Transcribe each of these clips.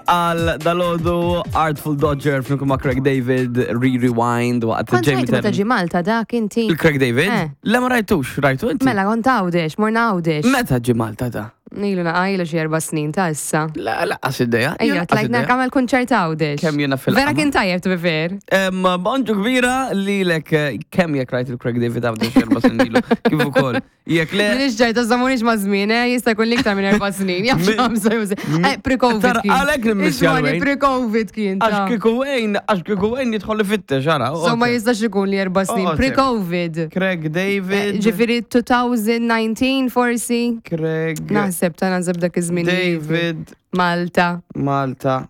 Għal dalodu Artful Dodger flimkien ma' Craig David, Re-Rewind waqt Kont Jamie rajtu meta Tennant. ġi Malta dak inti. Il-Craig David? Eh. Le ma rajtux, rajtu inti? Mela kont Għawdex, morna Għawdex. Meta ġi Malta da? Ilu naqajlu xi erba' snin ta' issa. La, laqqas idea. Ejja, tlajtna għamel kunċert Għawdex. Kemm jiena fil- Vera kien tajjeb to be fair. Bonġu kbira li lek kemm jekk rajt il-Craig David Għawdex 4 snin ilu. Kif ukoll. Jekk le. Minix ġajta, zammunix ma' żmien, eh, jista' jkun liktar minn 4 snin. Jaf xamsa Pre-Covid Tara, kien. għalhekk nimmissja Ismani, l-Wayne. Pre-Covid kien. Għax ta. kieku Wayne, għax kieku Wayne jidħol ifittex, ara. So ma jistax ikun li 4 snin. Oh, Pre-Covid. Craig David. Ġifieri 2019 forsi. Craig Naħseb ta' naħseb dak iż-żmien. David Malta. Malta.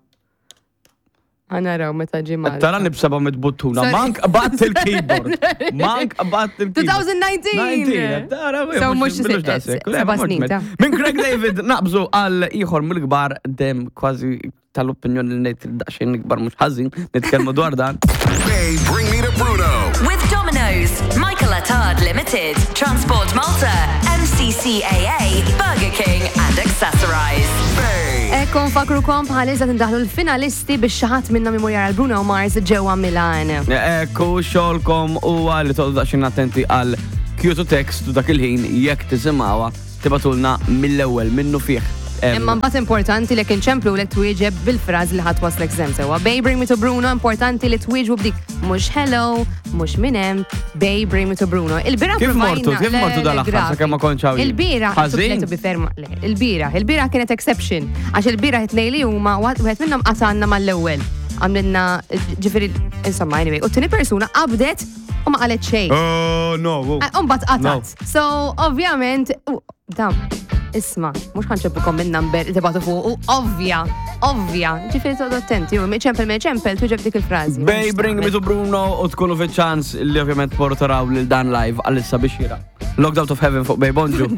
Ħa naraw meta ġi Malta. Tara nibsaba mit-buttuna. Sorry. Mank bat il-keyboard. Mank bat il-keyboard. 2019! Tara, So, mux 7 snin ta' Minn Craig David naqbżu għal ieħor mill-kbar dem kważi tal-opinjoni li ngħid daqsxejn ikbar mhux ħażin nitkellmu dwar dan. Bay, bring me to Bruno. With Domino's, Michael Attard Limited, Transport Malta, MCCAA, Burger King and Accessorize. Bay. Ekku nfakkrukom bħalissa tindaħlu l-finalisti biex xi ħadd minnhom imur jara l-Bruno Mars ġewwa Milan. Ekku xogħolkom huwa li toqgħodu daqsxejn attenti għal cue to text u dak il-ħin jekk tisimgħuha tibagħtulna mill-ewwel minnu fih. Imma mbagħad importanti li inċemplu lek twieġeb bil-fraż li ħadd waslek sem sewwa. Bay bring me to Bruno, importanti li twieġbu b'dik mhux hello, mhux min hemm, Bay bring me to Bruno. Il-bieraħ Kif mortu? provajna Kif mortu dal-aħħar, sakemm ma kontx hawn jien? Il-bieraħ, Ħażin? to be fair, le, il-bieraħ, il-bieraħ kienet exception, għax il-bieraħ it-tnejn li huma wieħed minnhom qatanna mal-ewwel. Għamlilna ġifieri insomma anyway, u t-tieni persuna qabdet u ma qalet xejn. Oh, no. Umbat qatat. So, ovvjament, dam, isma, mhux ħa nċemplilkom minn number tibagħtu fuq, u ovvja, ovvja, ġifieri toqgħodu attenti, u ċempel me ċempel tuġeb dik il-frażi. Bay bring me to Bruno u tkunu fi ċans li ovvjament tmorru taraw lil dan live għalissa biex jira. Locked out of heaven fuq Bay Bonġu.